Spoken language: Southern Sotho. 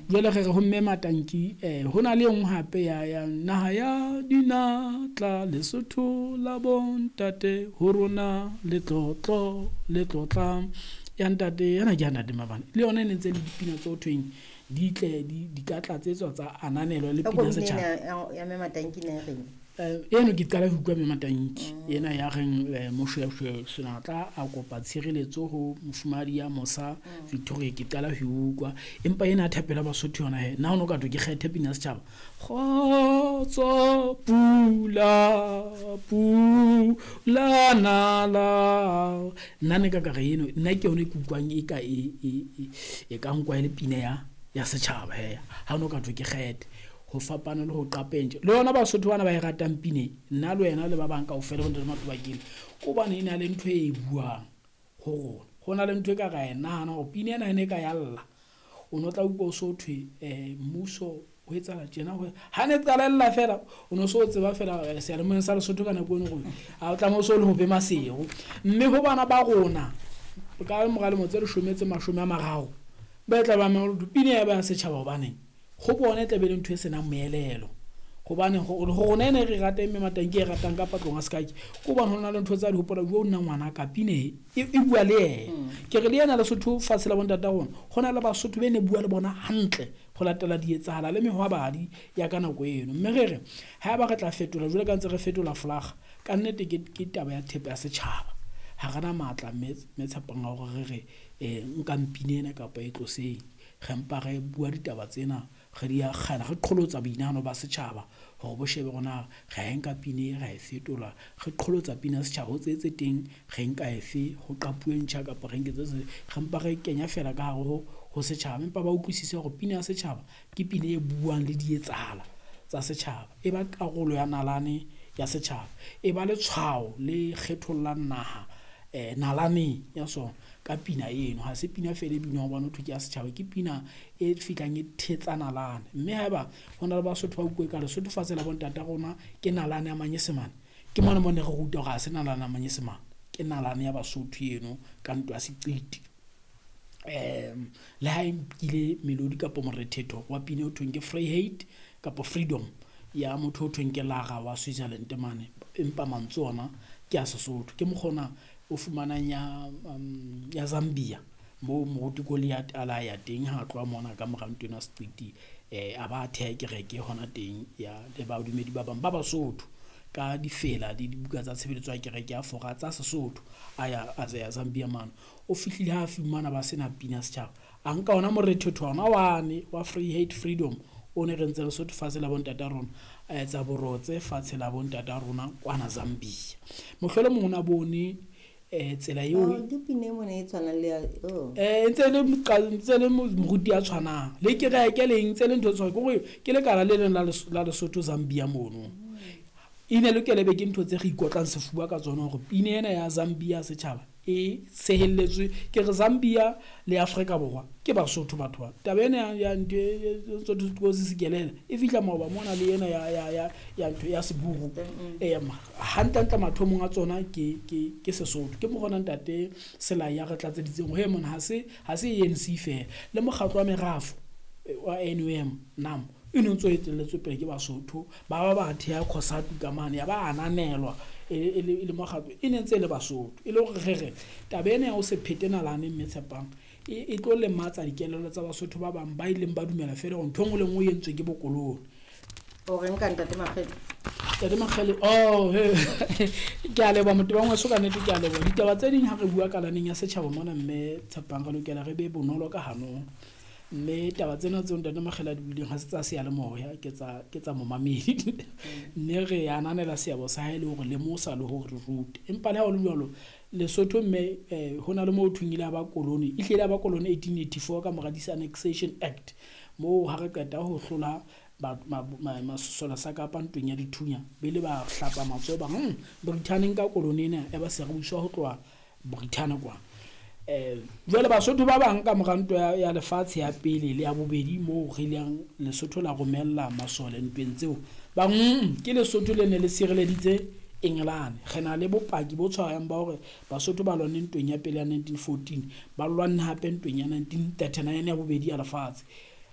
Jwale re re ho mme Matanki, ho na le e nngwe hape ya naha ya dinatla, Lesotho la bontate, ho rona letlotlo, letlotla ya ntate, ena ke ya ntate Mabana. Le yona e ne ntse le dipina tse ho thweng di tle di ka tlatsetswa tsa ananelwa le pina setjhaba. Ya mme Matanki ne reng? Eno ke qala ho utlwa mme Matanki. Ena ya reng Moshweshwe Senatla a kopa tshireletso ho mofumahadi ya Mosa Victoria, ke qala ho utlwa. Empa ena thapelo ya Basotho yona he, nna ho no ka thwe ke kgethe pina ya setjhaba. Kgotso pula pula nala. Nna ne ka ka re eno, nna ke yona e ke utlwang e ka e ka nkwa e le pina ya setjhaba he. Ha no ka thwe ke kgethe. Ho fapana le ho qapentje. Le yona Basotho bana ba e ratang pine, nna le wena le ba bang kaofela bo ntate Matobakele, ko hobane e na le ntho e buang ho rona. Ho na le ntho e ka ra e nahana hore pine ena e ne ka ya lla. O no tla utlwa o so thwe, mmuso o etsahala tjena, ho ha ne qalella fela, o no so tseba fela, seyalemoyeng sa Lesotho ka nako eno hore ha o tlameha o so le ho be Maseru. Mme ho bana ba rona ka mora lemo tse leshome tse mashome a mararo, ba tla ba mema hore pine ya ba ya setjhaba hobaneng? Ho bona e tla be le ntho e senang moelelo. Hobane ho rona ena e re ratang mme Matanki e ratang ka patlong a sekake, ke hobane ho na le ntho tsa di hopola, jo nna ngwana ka pine e bua le yena. Ke re le yena Lesotho fatshe la bontata rona, ho na le Basotho be ne bua le bona hantle ho latela dietsahala le mehwabadi ya ka nako eno. Mme re re haeba re tla fetola jwalo ka ntse re fetola folaga, ka nnete ke taba ya thepa ya setjhaba. Ha re na matla mme tshepang a hore re re, nkang pine ena kapa e tloseng. Re mpa re bua ditaba tsena, re di akgela, re qholotsa boinahano ba setjhaba hore bo shebe hore na re a nka pine, re a e fetola, re qholotsa pina ya setjhaba ho tse teng, re nka efe, ho qapuwe ntjha kapa re nke tse tse, re mpa re kenya fela ka hare ho setjhaba. Empa ba utlwisise hore pina ya setjhaba ke pina e buang le dietsahala tsa setjhaba, e ba karolo ya nalane ya setjhaba, e ba letshwao le kgethollang naha, nalaneng ya sona ka pina eno. Ha se pina fela e binwang hobane ho thwe ke ya setjhaba, ke pina e fihlang e thetsa nalane. Mme haeba ho na le Basotho ba utlwe ka Lesotho fatshe la bontata rona ke nalane ya Manyesemane, ke mona mo ne re ruta hore ha se nalane ya Manyesemane, ke nalane ya Basotho eno ka ntwa ya seqiti. Le ha e nkile melodi kapa morethetho wa pina o thweng ke Vryheid kapa Freedom ya motho o thweng ke Lara wa Switzerland mane, empa mantswe ona ke a Sesotho. Ke mokgona o fumanang ya Zambia moo moruti Goliath a la ya teng ha tloha mona ka mora ntwa ena seqiti, a ba theha kereke hona teng ya le badumedi ba bang ba Basotho ka difela le dibuka tsa tshebeletso ya kereke ya Fora tsa Sesotho. A ya, a ya Zambia mane, o fihlile ha fumana ba sena pina setjhaba, a nka ona morethetho ona wane wa Vryheid Freedom o ne re ntse Lesotho fatshe la bontata rona, a etsa borotse fatshe la bontata rona kwana Zambia. Mohlolomong o na bone tsela eo Oh, ke pina e mona e tshwanang le ya, oh. Ntse le ntse le moruti ya tshwanang le kereke le ntse le ntho tse tshwanang, ke hore ke lekala le leng la Lesotho Zambia mono. E ne lokele be ke ntho tse re ikotlang sefuba ka tsona hore pina ena ya Zambia setjhaba e sehelletswe. Ke re Zambia le Afrika Borwa ke Basotho batho ba. Taba ena ya ntho e, Sotho se se kelela e fihla maoba mona le ena ya ntho ya Seburu. Hantle-hantle mathomong a tsona ke Sesotho. Ke mokgona ntate Selai ya re tlatseditseng hore mona ha se ANC feela, le mokgatlo wa merafo wa NUM NAM e ne ntse o etelletswe pele ke Basotho, ba ba ba theha COSATU ka mane, ya ba ananelwa e le mokgatlo, e ne ntse e le Basotho. E le hore re re taba ena ya ho se phete nalane mme Tshepang e tlo lematsa dikelello tsa Basotho ba bang ba ileng ba dumela feela hore ntho e nngwe le nngwe e entswe ke bokolone. O reng ka ntate Makgele? Ntate Makgele, oh, he. Ke a leboha motho wa ngweso ka nnete, ke a leboha. Ditaba tse ding ha re bua kalaneng ya setjhaba mona mme Tshepang, re lokela re be bonolo ka hanong. Mme taba tsena tseo ntate Makgele a di buileng ha se tsa seyalemoya, ke tsa momamedi. Mme re ananela seabo sa hae le hore lemosa le hore re rute. Empa le ha ho le jwalo, Lesotho mme, ho na le moo ho thweng ile ya ba koloni, e hlile ya ba koloni 1884 ka mora Disannexation Act, moo ha re qeta ho hlola masole sa Kapa ntweng ya dithunya, be le ba hlapa matsoho ba, Brithani nka koloni ena ya ba se re buswa ho tloha Brithani kwa. Jwale Basotho ba bang ka mora ntwa ya lefatshe ya pele le ya bobedi, moo re ileng Lesotho la romella masole ntweng tseo, ba, ke Lesotho le ne le sireleditse Engelane. Re na le bopaki bo tshwarang ba hore Basotho ba lwanne ntweng ya pele ya 1914, ba lwanne hape ntweng ya 1939 ya bobedi ya lefatshe.